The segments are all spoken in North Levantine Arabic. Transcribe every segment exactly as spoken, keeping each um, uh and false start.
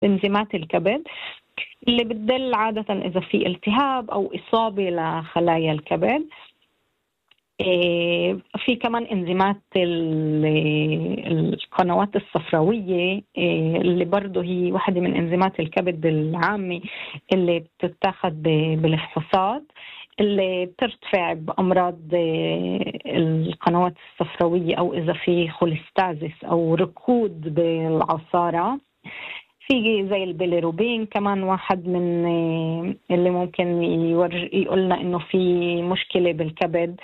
إنزيمات الكبد اللي بتدل عادة إذا في التهاب أو إصابة لخلايا الكبد. في كمان إنزيمات القنوات الصفراوية اللي برضو هي واحدة من إنزيمات الكبد العامة اللي بتتاخد بالفحوصات، اللي بترتفع بأمراض القنوات الصفراوية أو إذا في خوليستازيس أو ركود بالعصارة. في زي البيليروبين كمان واحد من اللي ممكن يقولنا إنه في مشكلة بالكبد.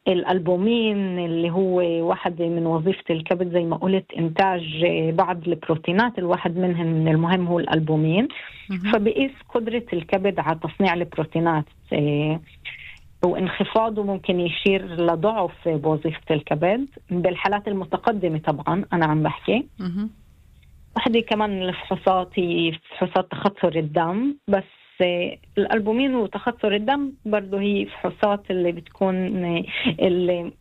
الألبومين اللي هو واحد من وظيفة الكبد زي ما قلت إنتاج بعض البروتينات، الواحد منهم من المهم هو الألبومين. فبقيس قدرة الكبد على تصنيع البروتينات، وانخفاضه ممكن يشير لضعف بوظيفة الكبد بالحالات المتقدمة. طبعا أنا عم بحكي واحدة كمان من الفحوصات هي فحوصات تخثر الدم، بس الألبومين وتخثر الدم برضو هي فحوصات اللي بتكون اللي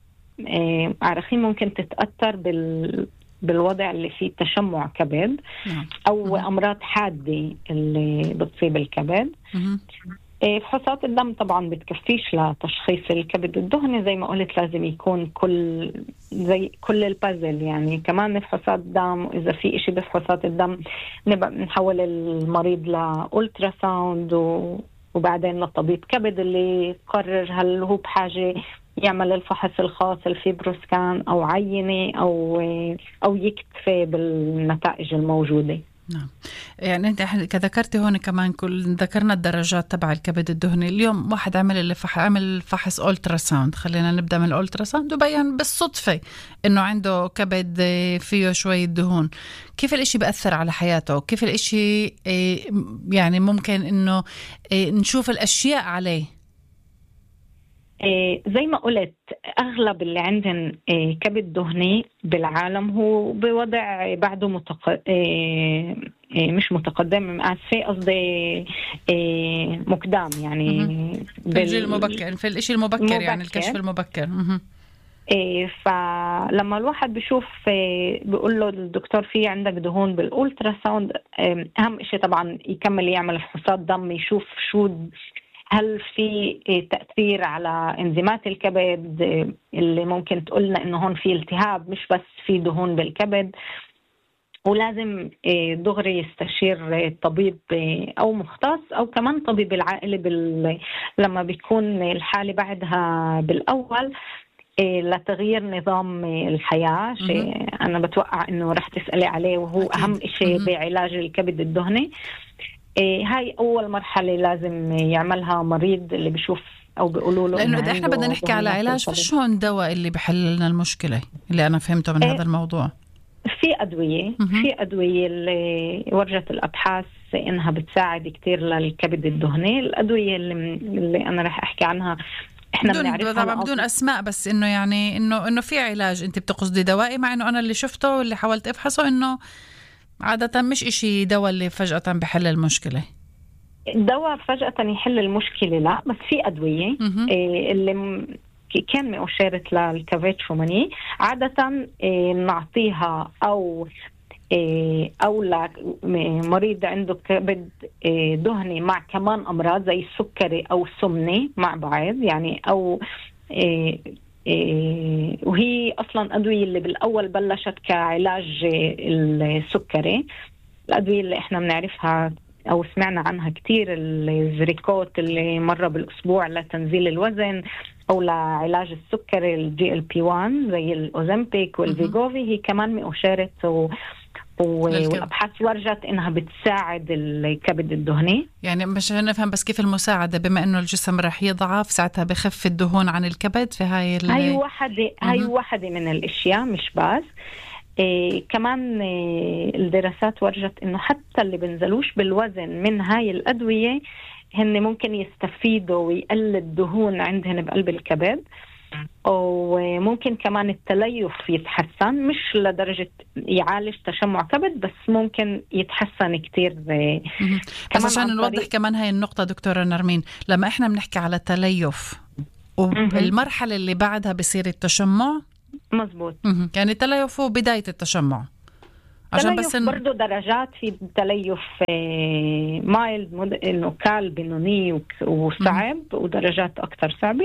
عارفين ممكن تتأثر بال بالوضع اللي فيه تشمع كبد أو أمراض حادة اللي بتصيب الكبد. فحوصات الدم طبعا بتكفيش لتشخيص الكبد الدهني، زي ما قلت لازم يكون كل زي كل البازل، يعني كمان فحوصات الدم، وإذا في إشي بفحوصات الدم نبقى نحول المريض لأولترا ساوند وبعدين لطبيب كبد اللي يقرر هل هو بحاجة يعمل الفحص الخاص الفيبروسكان أو عينة أو أو يكتفي بالنتائج الموجودة. نعم، يعني انت كذكرتي هون كمان كل ذكرنا الدرجات تبع الكبد الدهني. اليوم واحد عمل اللي فح عمل فحص أولترا ساوند، خلينا نبدأ من الأولترا ساوند، وبين بالصدفة انه عنده كبد فيه شوية دهون. كيف الاشي بأثر على حياته؟ كيف الاشي يعني ممكن انه نشوف الاشياء عليه؟ زي ما قلت أغلب اللي عندهم كبد دهني بالعالم هو بوضع بعده متق... مش متقدم، آسفة قصدي مقدام، يعني في الجيل المبكر، في الإشي المبكر مبكر. يعني الكشف المبكر. فلما الواحد بيشوف بيقول له الدكتور في عندك دهون بالأولترا ساوند، أهم إشي طبعا يكمل يعمل فحوصات دم يشوف شو هل في تأثير على إنزيمات الكبد اللي ممكن تقولنا إنه هون في التهاب مش بس في دهون بالكبد. ولازم دغري يستشير طبيب أو مختص أو كمان طبيب العائلة بال... لما بيكون الحالة بعدها بالأول لتغيير نظام الحياة. شيء أنا بتوقع إنه رح تسألي عليه، وهو أكيد. أهم شيء بعلاج الكبد الدهني. هاي أول مرحلة لازم يعملها مريض اللي بيشوف أو بيقولوا له، لأنه إحنا بدنا نحكي على علاج، فشو الدواء اللي بيحل لنا المشكلة اللي أنا فهمته من إيه هذا الموضوع؟ في أدوية م-م. في أدوية اللي ورجت الأبحاث إنها بتساعد كتير للكبد الدهني. الأدوية اللي, اللي أنا رح أحكي عنها إحنا بنعرفها طبعا بدون أسماء، بس إنه يعني إنه إنه في علاج أنت بتقصدي دوائي، مع إنه أنا اللي شفته واللي حاولت أفحصه إنه عادة مش إشي دواء اللي فجأة بحل المشكلة. الدواء فجأة يحل المشكلة لا، بس في أدوية إيه اللي م... كان مؤشرة للكافيتشوماني عادة إيه نعطيها أو إيه أو لمريض عنده كبد إيه دهني مع كمان أمراض زي السكري أو السمنة مع بعض، يعني أو إيه إيه وهي أصلاً أدوية اللي بالأول بلشت كعلاج السكري. الأدوية اللي إحنا بنعرفها أو سمعنا عنها كتير الزريكوت اللي مرة بالأسبوع لتنزيل الوزن أو لعلاج السكري الجي ال بي واحد زي الأوزمبيك والفيغوفي، هي كمان مؤشرة و... والأبحاث ورجت إنها بتساعد الكبد الدهني. يعني مش نفهم بس كيف المساعدة، بما إنه الجسم رح يضعف ساعتها بخف الدهون عن الكبد في هاي ال... هاي واحدة هاي واحدة من الأشياء مش بس إيه كمان إيه الدراسات ورجت إنه حتى اللي بنزلوش بالوزن من هاي الأدوية هن ممكن يستفيدوا ويقلل الدهون عندهن بقلب الكبد، وممكن كمان التليف يتحسن، مش لدرجة يعالج تشمع كبد بس ممكن يتحسن كتير. بس عشان نوضح كمان هاي النقطة دكتورة نرمين، لما احنا بنحكي على تليف والمرحلة اللي بعدها بصير التشمع، مزبوط، يعني التليف هو بداية التشمع عشان بس إن... برضو درجات، في تليف مايلد إنه كال بنوني وصعب، ودرجات أكثر صعبة.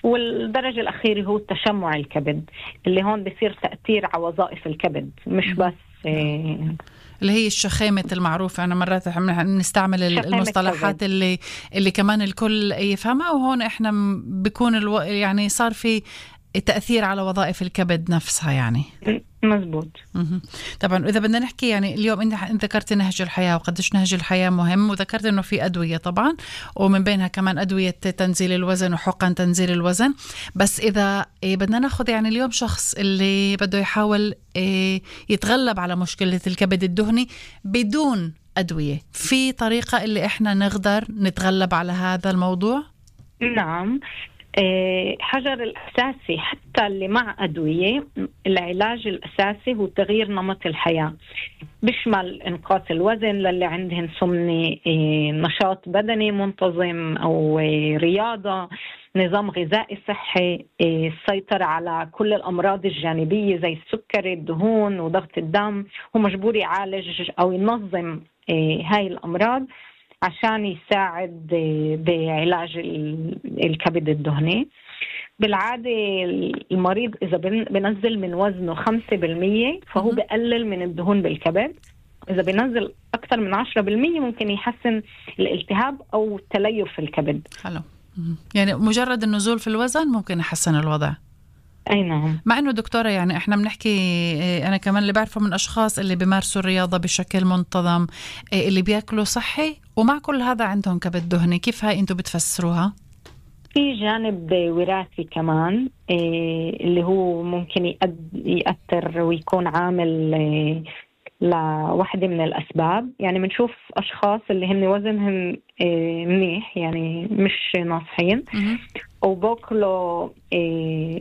والدرجة الأخيرة هو تشمع الكبد، اللي هون بيصير تأثير على وظائف الكبد، مش بس إيه اللي هي الشخامة المعروفة. أنا مرات نستعمل المصطلحات اللي اللي كمان الكل يفهمها، وهون إحنا بيكون الو... يعني صار في تأثير على وظائف الكبد نفسها يعني. مزبوط. طبعا إذا بدنا نحكي يعني اليوم أنت ذكرت نهج الحياة وقديش نهج الحياة مهم، وذكرت إنه في أدوية طبعا، ومن بينها كمان أدوية تنزيل الوزن وحقن تنزيل الوزن. بس إذا بدنا ناخذ يعني اليوم شخص اللي بده يحاول يتغلب على مشكلة الكبد الدهني بدون أدوية، في طريقة اللي إحنا نقدر نتغلب على هذا الموضوع؟ نعم. حجر الأساسي حتى اللي مع أدوية، العلاج الأساسي هو تغيير نمط الحياة، بيشمل إنقاص الوزن للي عندهم سمنة، نشاط بدني منتظم أو رياضة، نظام غذائي صحي، السيطرة على كل الأمراض الجانبية زي السكري، الدهون وضغط الدم. هو مجبور يعالج أو ينظم هاي الأمراض عشان يساعد بعلاج الكبد الدهني. بالعادة المريض إذا بنزل من وزنه خمسة بالمية فهو بقلل من الدهون بالكبد. إذا بنزل أكثر من عشرة بالمية ممكن يحسن الالتهاب أو تليف في الكبد. حلو. يعني مجرد النزول في الوزن ممكن يحسن الوضع. أي نعم. مع إنه دكتورة يعني إحنا بنحكي، أنا كمان اللي بعرفه من أشخاص اللي بيمارسوا الرياضة بشكل منتظم، اللي بيأكلوا صحي، ومع كل هذا عندهم كبد دهني. كيف هاي أنتوا بتفسروها؟ في جانب وراثي كمان اللي هو ممكن يأثر ويكون عامل لواحدة من الأسباب. يعني بنشوف أشخاص اللي هم وزنهم منيح، يعني مش ناصحين، وباكلوا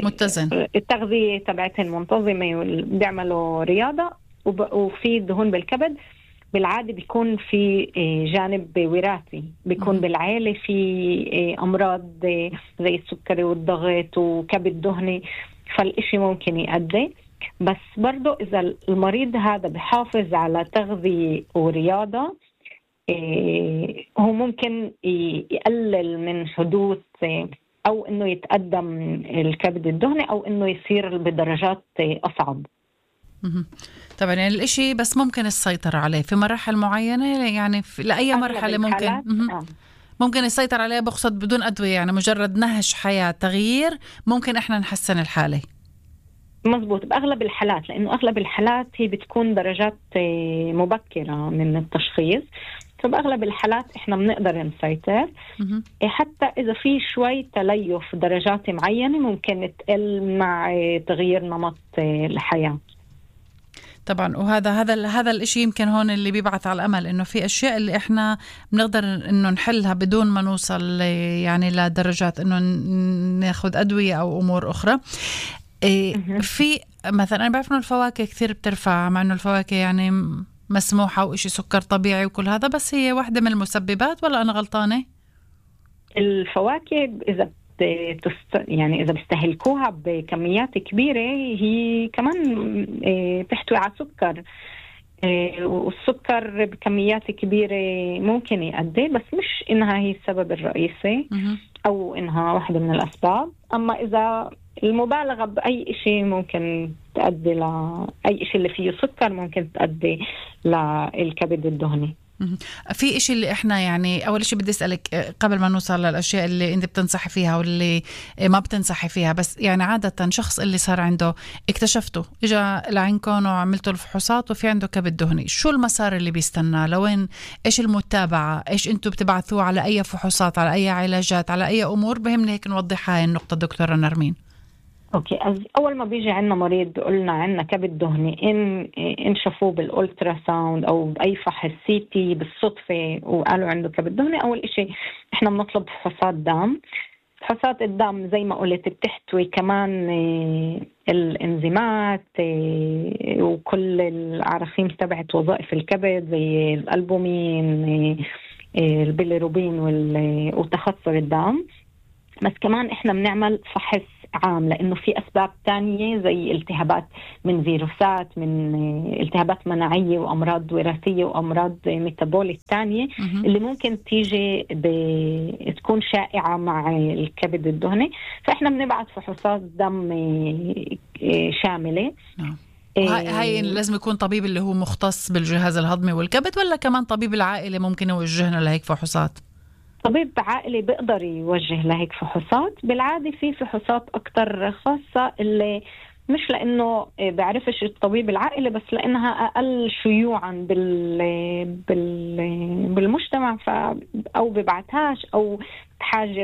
متزن، التغذية تبعتهم منتظمة وبيعملوا رياضة، وفي دهون بالكبد. بالعادة بيكون في جانب وراثي، بيكون بالعائلة في أمراض زي السكري والضغط وكبد دهني، فالإشي ممكن يؤدي. بس برضو إذا المريض هذا بحافظ على تغذية ورياضة، هو ممكن يقلل من حدوث أو إنه يتقدم الكبد الدهني أو إنه يصير بدرجات أصعب. طبعا يعني الإشي بس ممكن السيطرة عليه في مراحل معينة، يعني في لأي مرحلة ممكن ممكن السيطرة عليه، بقصد بدون أدوية، يعني مجرد نهج حياة تغيير ممكن إحنا نحسن الحالة. مزبوط، بأغلب الحالات، لأنه أغلب الحالات هي بتكون درجات مبكرة من التشخيص، فبأغلب الحالات إحنا بنقدر نسيطر. حتى إذا في شوي تليف درجات معينة ممكن تقل مع تغيير نمط الحياة. طبعا، وهذا هذا هذا الاشي يمكن هون اللي بيبعث على الامل، انه في اشياء اللي احنا بنقدر انه نحلها بدون ما نوصل يعني لدرجات انه ناخذ ادويه او امور اخرى. في مثلا انا بعرف انه الفواكه كثير بترفع، مع انه الفواكه يعني مسموحه وإشي سكر طبيعي وكل هذا، بس هي واحده من المسببات، ولا انا غلطانه؟ الفواكه اذا تست... يعني إذا بيستهلكوها بكميات كبيرة هي كمان تحتوي على سكر، والسكر بكميات كبيرة ممكن يؤدي، بس مش إنها هي السبب الرئيسي أو إنها واحدة من الأسباب. أما إذا المبالغة بأي شيء ممكن تؤدي لأي شيء اللي فيه سكر ممكن تؤدي للكبد الدهني. في إشي اللي إحنا يعني أول إشي بدي أسألك قبل ما نوصل للأشياء اللي أنت بتنصحي فيها واللي ما بتنصحي فيها، بس يعني عادة شخص اللي صار عنده اكتشفته إجا لعندكم وعملتوا الفحوصات وفي عنده كبد دهني، شو المسار اللي بيستنى؟ لوين؟ إيش المتابعة؟ إيش أنتوا بتبعثوه على أي فحوصات، على أي علاجات، على أي أمور؟ بهمني هيك نوضح هاي النقطة دكتورة نرمين. اوكي، اول ما بيجي عندنا مريض قلنا عندنا كبد دهني، ان ان شافوه بالالترا ساوند او باي فحص سي تي بالصدفه وقالوا عنده كبد دهني، اول إشي احنا بنطلب فحوصات دم. فحوصات الدم زي ما قلت بتحتوي كمان الانزيمات وكل العراقيم تبعت وظائف الكبد زي الالبومين، البيليروبين وتخثر الدم. بس كمان احنا بنعمل فحص عام، لأنه في أسباب تانية زي التهابات من فيروسات، من التهابات مناعية وأمراض وراثية وأمراض ميتابوليك تانية اللي ممكن تيجي تكون شائعة مع الكبد الدهني. فإحنا بنبعث فحوصات دم شاملة. هاي, هاي لازم يكون طبيب اللي هو مختص بالجهاز الهضمي والكبد، ولا كمان طبيب العائلة ممكن يوجهنا لهيك فحوصات؟ طبيب عائلي بيقدر يوجه لهيك فحوصات. بالعادة في فحوصات أكتر خاصة اللي مش لأنه بعرفش الطبيب العائلي، بس لأنها أقل شيوعا بال بال بالمجتمع، ف أو ببعتهاش أو بحاجة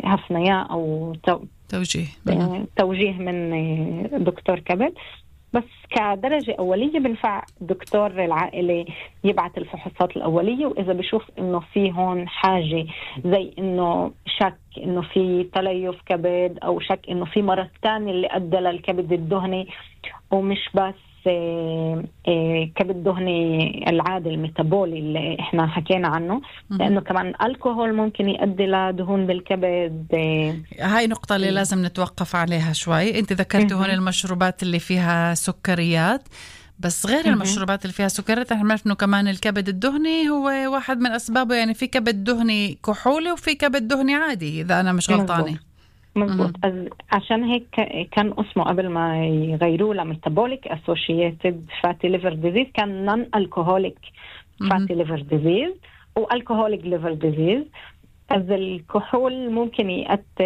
لهفنياء أو توجيه توجيه من دكتور كبد. بس كدرجة أولية بنفع دكتور العائلة يبعث الفحوصات الأولية، وإذا بشوف إنه في هون حاجة زي إنه شك إنه في تليف كبد أو شك إنه في مرض تاني اللي أدى للكبد الدهني، ومش بس إيه إيه كبد دهني العادي الميتابولي اللي إحنا حكينا عنه، لأنه كمان الكحول ممكن يؤدي لدهون بالكبد. إيه هاي نقطة اللي لازم نتوقف عليها شوي. أنت ذكرت هون المشروبات اللي فيها سكريات، بس غير المشروبات اللي فيها سكريات احنا بنعرف إنه كمان الكبد الدهني هو واحد من أسبابه، يعني في كبد دهني كحولي وفي كبد دهني عادي إذا أنا مش غلطانة. مظبوط. عشان هيك كان اسمه قبل ما يغيروه لميتابوليك اسوشيتد فاتي ليفر ديزيز كان نون الكحوليك فاتي ليفر ديزيز والكحوليك ليفر ديزيز. از الكحول ممكن يأثر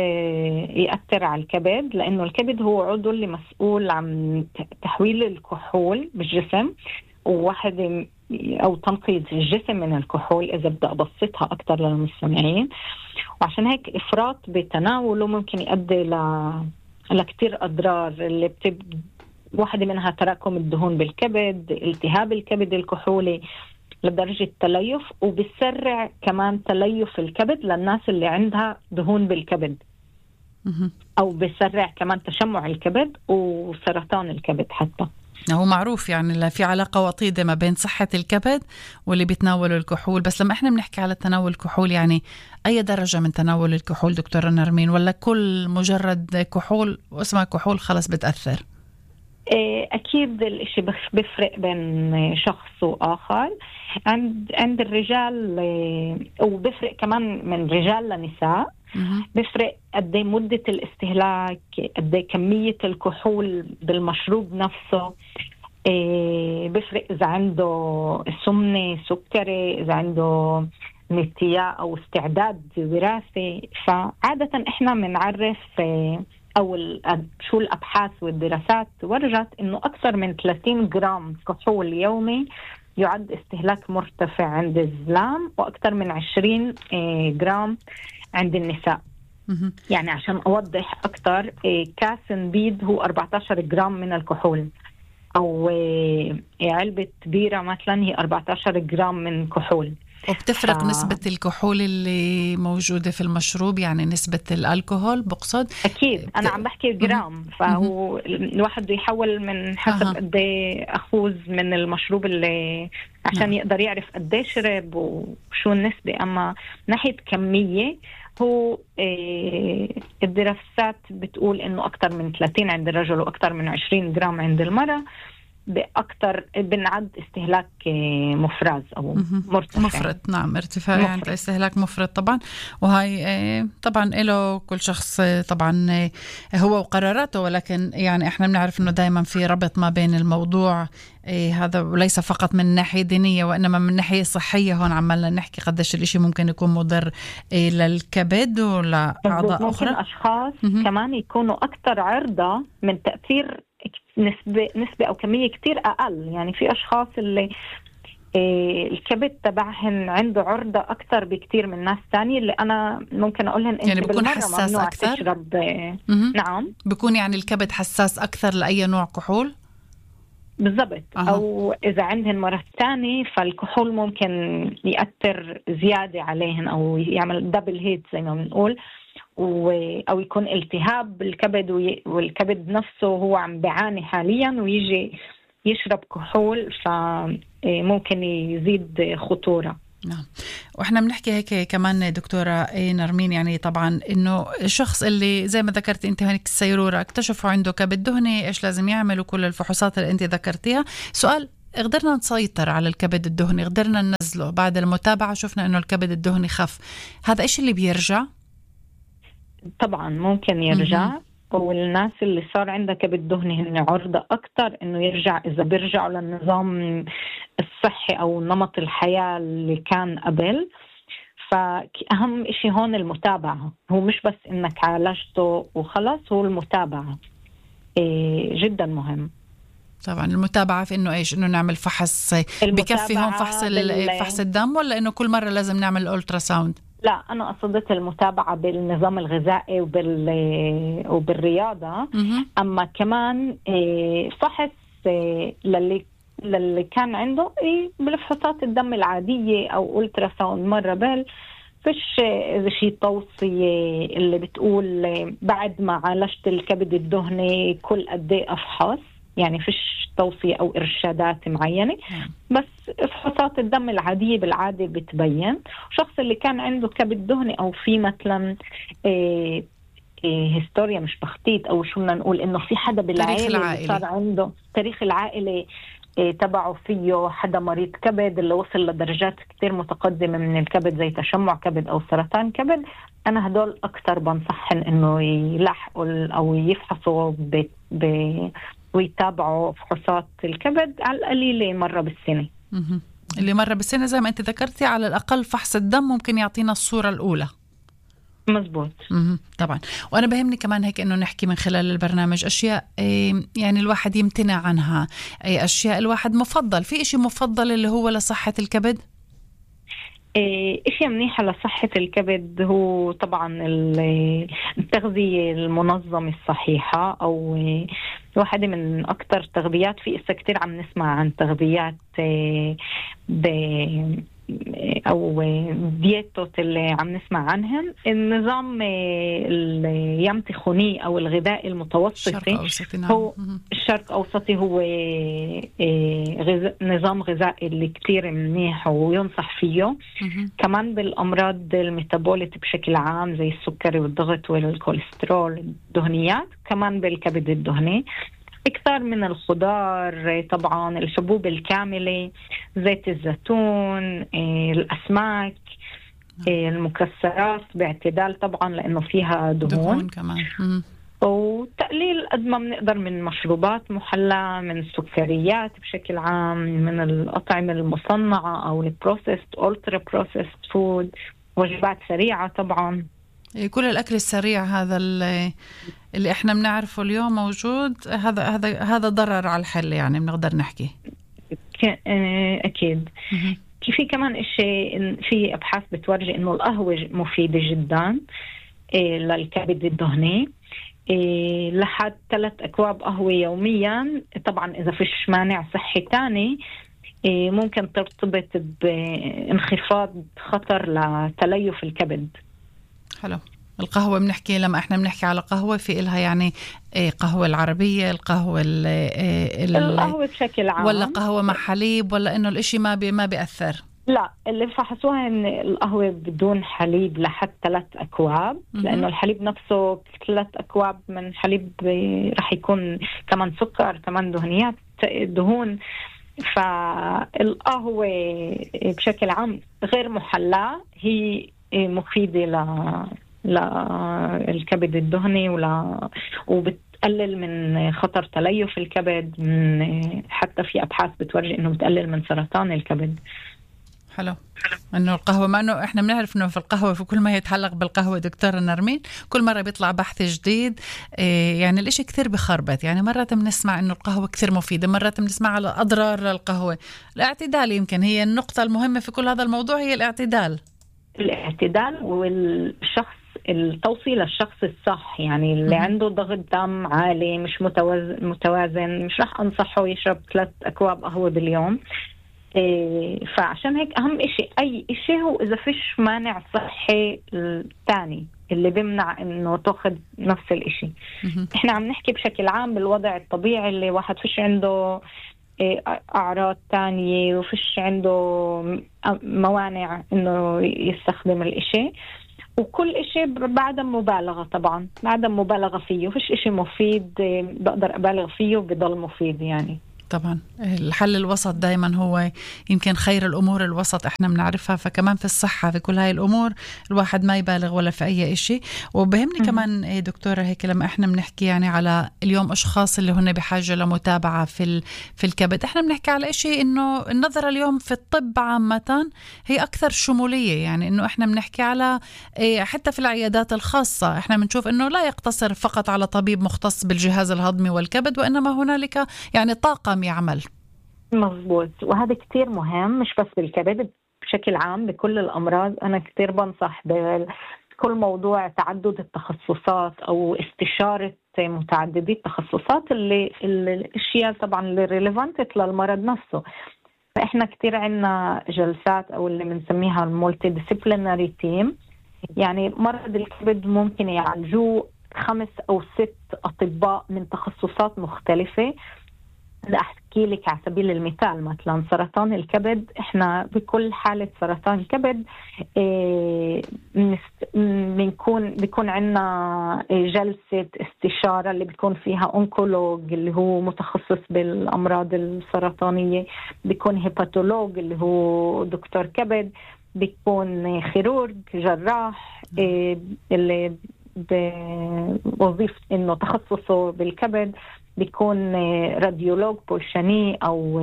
يأثر على الكبد، لانه الكبد هو عضو اللي مسؤول عن تحويل الكحول بالجسم وواحد أو تنقية الجسم من الكحول، إذا بدأ أبسطها أكتر للمستمعين. وعشان هيك إفراط بتناوله ممكن يؤدي ل... لكتير أضرار، اللي بتب... واحدة منها تراكم الدهون بالكبد، التهاب الكبد الكحولي لدرجة تليف، وبيسرع كمان تليف الكبد للناس اللي عندها دهون بالكبد، أو بيسرع كمان تشمع الكبد وسرطان الكبد حتى. هو معروف يعني لا في علاقة وطيدة ما بين صحة الكبد واللي بيتناولوا الكحول. بس لما احنا بنحكي على تناول الكحول، يعني أي درجة من تناول الكحول دكتورة نرمين، ولا كل مجرد كحول واسمها كحول خلص بتأثر؟ أكيد الإشي بيفرق بين شخص وآخر. عند عند الرجال وبيفرق كمان من رجال لنساء. بيفرق قد مدة الاستهلاك، قد كمية الكحول بالمشروب نفسه. بيفرق إذا عنده سمنة سكري، إذا عنده نتياء أو استعداد وراثي. فعادة إحنا بنعرف أو شو الأبحاث والدراسات ورجت إنه أكثر من ثلاثين جرام كحول يومي يعد استهلاك مرتفع عند الزلام، وأكثر من عشرين جرام عند النساء. يعني عشان أوضح أكتر، كاس نبيذ هو أربعة عشر جرام من الكحول، أو علبة بيرة مثلا هي أربعة عشر جرام من كحول. وبتفرق ف... نسبة الكحول اللي موجودة في المشروب، يعني نسبة الألكوهول بقصد؟ أكيد بت... أنا عم بحكي جرام. فهو الواحد بده يحول من حسب قد ايه أخوذ من المشروب اللي عشان أه. يقدر يعرف قد ايه شرب وشو النسبة. أما ناحية كمية هو إيه الدراسات بتقول إنه أكتر من ثلاثين عند الرجل وأكتر من عشرين جرام عند المرأة بأكتر بنعد استهلاك مفرز أو مرتفع. مفرط، نعم، ارتفاع مفرط. عند استهلاك مفرط طبعا. وهي طبعا له كل شخص طبعا هو وقراراته، ولكن يعني احنا بنعرف انه دائما في ربط ما بين الموضوع هذا، وليس فقط من ناحية دينية وإنما من ناحية صحية. هون عمالنا نحكي قديش الاشي ممكن يكون مضر للكبد ولأعضاء أخرى. ممكن أشخاص م-م. كمان يكونوا أكثر عرضة من تأثير نسبة نسبة أو كمية كتير أقل. يعني في أشخاص اللي إيه الكبد تبعهن عنده عرضة أكثر بكتير من ناس تانية، اللي أنا ممكن أقولهن يعني بيكون حساس أكثر. تشرب إيه نعم بيكون يعني الكبد حساس أكثر لأي نوع كحول بالضبط. أه. أو إذا عندهن مرض تاني فالكحول ممكن يأثر زيادة عليهن أو يعمل دبل هيت زي ما بنقول، أو يكون التهاب بالكبد والكبد نفسه هو عم بيعاني حاليا ويجي يشرب كحول فممكن يزيد خطورة. نعم. واحنا بنحكي هيك كمان دكتورة نرمين، يعني طبعا انه الشخص اللي زي ما ذكرت انت هناك السيرورة اكتشفوا عنده كبد دهني، ايش لازم يعملوا؟ كل الفحوصات اللي انت ذكرتيها. سؤال، قدرنا نسيطر على الكبد الدهني، قدرنا ننزله بعد المتابعة، شفنا انه الكبد الدهني خف، هذا ايش اللي بيرجع؟ طبعا ممكن يرجع، والناس اللي صار عندها كبد دهني هن عرضة أكتر إنه يرجع إذا بيرجعوا للنظام الصحي أو نمط الحياة اللي كان قبل. فأهم إشي هون المتابعة، هو مش بس إنك عالجته وخلاص، هو المتابعة إيه جدا مهم. طبعا المتابعة في إنه إيش؟ إنه نعمل فحص، بكفي هون فحص فحص الدم ولا إنه كل مرة لازم نعمل الأولترا ساوند؟ لا، أنا قصدت المتابعة بالنظام الغذائي وبال وبالرياضة. أما كمان فحص للي للي كان عنده بالفحوصات الدم العادية أو ألترا ساوند مرة بال. فيش شيء توصية اللي بتقول بعد ما عالجت الكبد الدهني كل قد ايه أفحص، يعني فيش توصية أو إرشادات معينة، بس فحوصات الدم العادية بالعادة بتبين. الشخص اللي كان عنده كبد دهني أو في مثلا إيه إيه هيستوريا مش تخطيط أو شو بدنا نقول، إنه في حدا بالعائلة صار عنده تاريخ العائلة إيه تبعه فيه حدا مريض كبد اللي وصل لدرجات كتير متقدمة من الكبد زي تشمع كبد أو سرطان كبد، أنا هدول أكتر بنصحن إنه يلحقوا أو يفحصوا ب ب ويتابعوا فحوصات الكبد على القليلة مرة بالسنة. اللي مرة بالسنة زي ما أنت ذكرتي، على الأقل فحص الدم ممكن يعطينا الصورة الأولى. مزبوط. طبعا. وأنا بهمني كمان هيك إنه نحكي من خلال البرنامج أشياء يعني الواحد يمتنع عنها، أي أشياء الواحد مفضل، في إشي مفضل اللي هو لصحة الكبد؟ إشي منيحة لصحة الكبد هو طبعا التغذية المنظمة الصحيحة، أو واحدة من أكتر تغذيات في إسا كتير عم نسمع عن تغذيات ب أو دييتوت اللي عم نسمع عنهم. النظام اليمتخوني أو الغذائي المتوسطي هو الشرق أوسطي، هو نظام غذائي اللي كتير منيح وينصح فيه. كمان بالأمراض الميتابولية بشكل عام زي السكري والضغط والكوليسترول الدهنيات، كمان بالكبد الدهني أكثر من الخضار، طبعا الحبوب الكاملة، زيت الزيتون، الأسماك، المكسرات باعتدال طبعا لأنه فيها دهون, دهون كمان. وتقليل قد ما بنقدر من مشروبات محلى، من السكريات بشكل عام، من الأطعمة المصنعة أو البروسيست أولترا بروسيست فود، وجبات سريعة طبعا. كل الأكل السريع هذا اللي, اللي إحنا بنعرفه اليوم موجود، هذا هذا هذا ضرر على الحل، يعني بنقدر نحكي. أكيد. في كمان إشي، في أبحاث بتورجي إنه القهوة مفيدة جدا للكبد الدهني، لحد ثلاث أكواب قهوة يوميا. طبعا إذا فيش مانع صحي تاني ممكن ترتبط بانخفاض خطر لتليف الكبد. حلو. القهوة بنحكي، لما احنا بنحكي على قهوة في إلها يعني قهوة العربية، القهوة القهوة بشكل عام، ولا قهوة مع حليب، ولا إنه الإشي ما بي ما بيأثر؟ لا، اللي فحصوها إن القهوة بدون حليب لحد ثلاث أكواب، لأنه الحليب نفسه ثلاث أكواب من حليب رح يكون كمان سكر، كمان دهنيات دهون. فالقهوة بشكل عام غير محلاة هي مفيدة للكبد الدهني ولا وبتقلل من خطر تليف الكبد، من حتى في أبحاث بتورجي إنه بتقلل من سرطان الكبد. حلو. إنه القهوة، ما إنه إحنا بنعرف إنه في القهوة، في كل ما يتعلق بالقهوة دكتورة نرمين كل مرة بيطلع بحث جديد، إيه يعني الإشي كثير بخربط. يعني مرة بنسمع إنه القهوة كثير مفيدة، مرة بنسمع على أضرار القهوة. الاعتدال يمكن هي النقطة المهمة في كل هذا الموضوع، هي الاعتدال. الاعتدال والشخص، التوصيل للشخص الصح، يعني اللي م- عنده ضغط دم عالي مش متوازن, متوازن مش رح أنصحه يشرب ثلاث أكواب قهوة باليوم. إيه فعشان هيك أهم إشي أي إشي هو إذا فيش مانع صحي الثاني اللي بيمنع إنه تأخذ نفس الإشي. إحنا عم نحكي بشكل عام بالوضع الطبيعي اللي واحد فيش عنده أعراض تانية وفيش عنده موانع إنه يستخدم الإشي. وكل إشي بعدم مبالغة، طبعا بعدم مبالغة فيه، وفيش إشي مفيد بقدر أبالغ فيه وبضل مفيد يعني. طبعا الحل الوسط دايما هو يمكن خير الأمور الوسط، احنا بنعرفها. فكمان في الصحة في كل هاي الأمور الواحد ما يبالغ ولا في أي إشي. وبهمني كمان دكتورة هيك لما احنا بنحكي يعني على اليوم أشخاص اللي هن بحاجة لمتابعة في في الكبد، احنا بنحكي على إشي إنه النظرة اليوم في الطب عامة هي أكثر شمولية، يعني إنه احنا بنحكي على حتى في العيادات الخاصة احنا بنشوف إنه لا يقتصر فقط على طبيب مختص بالجهاز الهضمي والكبد، وإنما هنالك يعني طاقم يعمل. مظبوط، وهذا كتير مهم مش بس بالكبد، بشكل عام بكل الأمراض. أنا كتير بنصح بكل موضوع تعدد التخصصات أو استشارة متعددي التخصصات اللي الأشياء طبعا اللي ريليفانت للمرض نفسه. فإحنا كتير عنا جلسات أو اللي بنسميها المولتي ديسيبليناري تيم، يعني مرض الكبد ممكن يعالجوه خمس أو ست أطباء من تخصصات مختلفة. أحكي لك على سبيل المثال مثلا سرطان الكبد، إحنا بكل حالة سرطان كبد بنكون بيكون عنا جلسة استشارة اللي بيكون فيها أونكولوج اللي هو متخصص بالأمراض السرطانية، بيكون هيباتولوج اللي هو دكتور كبد، بيكون خيرورج جراح اللي بوظيفة إنه تخصصه بالكبد، بيكون راديولوج بولشاني أو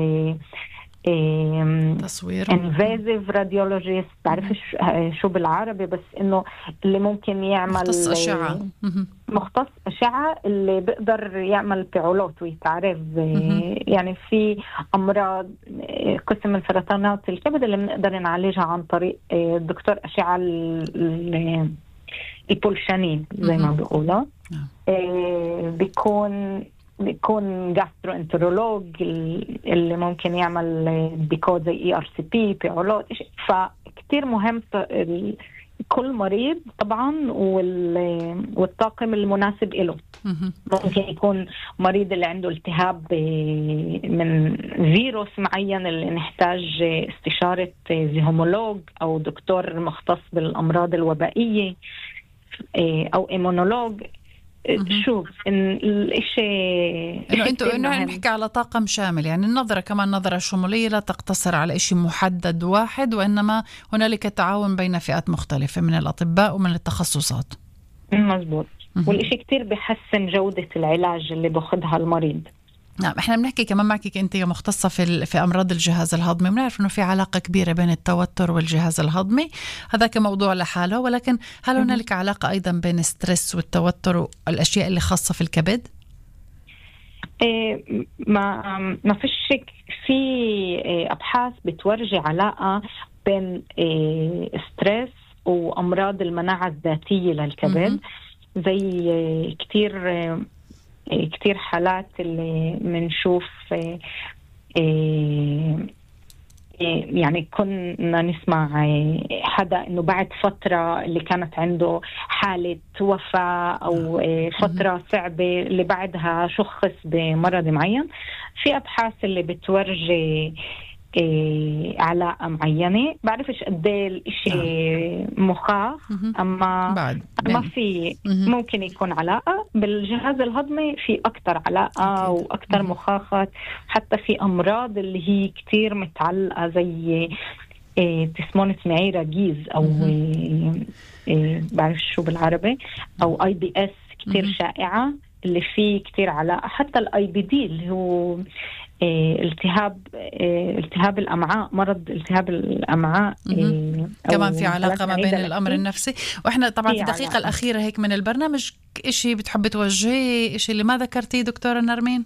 تصوير انفازيف راديولوجيست، بعرفش شو بالعربي، بس إنه اللي ممكن يعمل مختص أشعة مختص أشعة اللي بيقدر يعمل بيعولوت ويتعرف. يعني في أمراض قسم من سرطانات الكبد اللي بنقدر نعالجها عن طريق الدكتور أشعة البولشاني زي ما بيقولوا. بيكون بيكون جاستروانترولوج اللي ممكن يعمل ديكود زي اي ار سي بي بيعولوت. فكتير مهم كل مريض طبعا والطاقم المناسب له. ممكن يكون مريض اللي عنده التهاب من فيروس معين اللي نحتاج استشارة زيهومولوج أو دكتور مختص بالأمراض الوبائية أو إيمونولوج. شوف إن الإشي إنه أنتوا إنه نحكي على طاقم شامل، يعني النظرة كمان نظرة شمولية لا تقتصر على إشي محدد واحد، وإنما هنالك تعاون بين فئات مختلفة من الأطباء ومن التخصصات. مزبوط. والإشي كتير بيحسن جودة العلاج اللي بأخذها المريض. نعم، احنا بنحكي كمان معك انت مختصة في في امراض الجهاز الهضمي، بنعرف انه في علاقة كبيرة بين التوتر والجهاز الهضمي، هذا كموضوع لحاله، ولكن هل هنالك علاقة ايضا بين الستريس والتوتر والاشياء اللي خاصة في الكبد؟ إيه ما ما فيش شك، في إيه ابحاث بتورجي علاقة بين إيه ستريس وامراض المناعة الذاتية للكبد. زي إيه كتير إيه كتير حالات اللي منشوف يعني كنا نسمع حدا إنه بعد فترة اللي كانت عنده حالة وفاة أو فترة صعبة اللي بعدها شخص بمرض معين. في أبحاث اللي بتورجي علاقة معينة، بعرفش قد ايه الاشي مخاخ، اما بعد. ما في ممكن يكون علاقة بالجهاز الهضمي، في اكتر علاقة أكيد. واكتر مخاخات، حتى في امراض اللي هي كتير متعلقة زي تسمونة معيرة جيز او بعرفش شو بالعربي، او اي بي اس كتير شائعة اللي فيه كتير علاقة. حتى الاي بي دي اللي هو التهاب التهاب الأمعاء، مرض التهاب الأمعاء كمان في علاقة ما بين الأمر النفسي. وإحنا طبعا في الدقيقة علاقة. الأخيرة هيك من البرنامج، إشي بتحبي توجهي، إشي اللي ما ذكرتيه دكتورة نرمين؟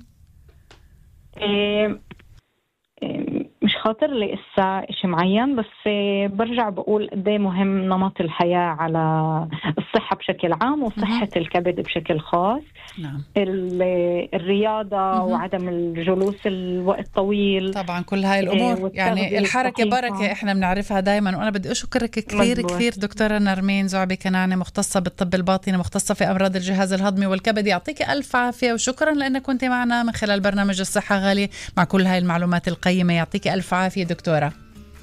إيه مش خاطر لي إسا إشي معين، بس برجع بقول قديه مهم نمط الحياة على الصحة بشكل عام وصحة الكبد بشكل خاص. نعم. الرياضة وعدم الجلوس الوقت طويل، طبعا كل هاي الأمور يعني الحركة بركة إحنا بنعرفها دايما. وأنا بدي أشكرك كثير كثير دكتورة نرمين زعبي كنانة، مختصة بالطب الباطني، مختصة في أمراض الجهاز الهضمي والكبد. يعطيك ألف عافية وشكرا لأنك كنت معنا من خلال برنامج الصحة غالية مع كل هاي المعلومات القيمة. يعطيك ألف عافية دكتورة.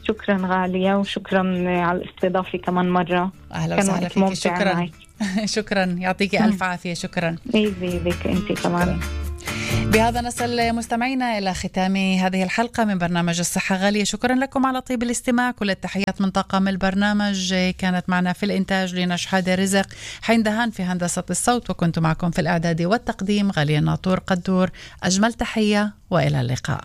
شكرا غالية وشكرا على الاستضافة كمان مرة. أهلا وسهلا فيك. شكرا شكرا يعطيك ألف عافية. شكرا. إيزي بك أنت كمان. بهذا نصل مستمعينا إلى ختام هذه الحلقة من برنامج الصحة غالية. شكرا لكم على طيب الاستماع. كل التحيات من طاقم البرنامج. كانت معنا في الإنتاج لينا شحادة رزق، حين دهان في هندسة الصوت، وكنت معكم في الإعداد والتقديم غالية ناطور قدور. أجمل تحية وإلى اللقاء.